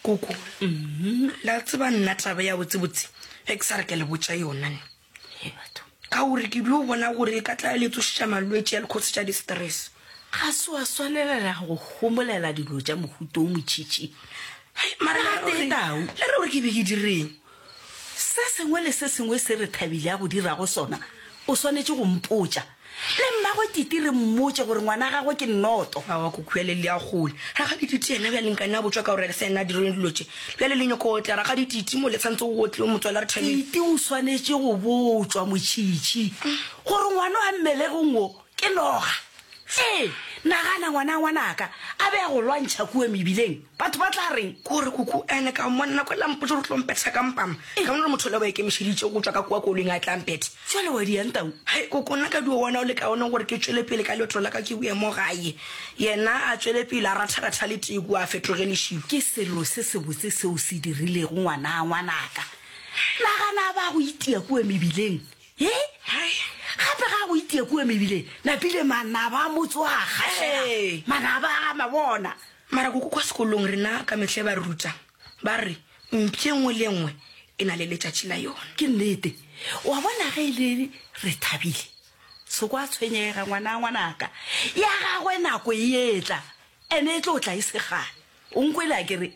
Koko, la tseba nna taba ya botsebotse ge ke sa re ke le botša yona ne. He batho. Ka gore ke dio bona gore e ka tla le tsošetša malwetši ya le khosetša di-stress. Ga se wa swanelela go homolela dilo tša mohuta o motšhitšhi. Hei, mara le re gore, Tau. le re gore ke be ke direng? Se sengwe le se sengwe se re Thabile a go dirago sona, o swanetše go mpotša. Le mmagwe Titi re mmotše gore ngwana gagwe ke nnoto. Aowa koko bjale le ya kgole. Rakgadi Titi yena bjale nkane a botšwa ka gore se yena a direng dilo tše. Bjale le nyoko otla Rakgadi Titi mo le tshwanetse go otle motswala Rethabile. Titi o swanetše go botšwa Motšhitšhi gore ngwana wa mmelegong wo ke noga. Ee, nagana ngwana ngwanaka a be a go lwantšha kua mebileng, batho ba tla reng? Kore koko ene ka mmona nako ela mpotša gore o tlo mpetha ka mpama. Ka bona gore motho yola o ikemišeditše go tšwa ka kua koloing a tla mpetha. Bjale wa diang tau? Hai koko, nna ka dio bona o le kaone gore ke tšwele pele ka leeto la ka ke boye mo gae. Yena a tšwele pele a ratharatha le tee kua a fetoge lešilo. Ke selo se sebotse seo o se dirilego ngwana ngwanaka. Nagana a ba a go itia kua mebileng. He? Gape ga a go itia kua mebileng, napile manaba a motse wa gašega. Manaba a ga mabona. Mara koko kwa sekolong rena ka mehla ba re ruta ba re mpša e nngwe le e nngwe e na le letšatši la yona. Ke nnete. Wa bona ge e le re thabile, se kwa tshwenyega ngwana ngwanaka. Ya gagwe nako e etla, ene e tlo tla e se kgale. O nkwele a ke re?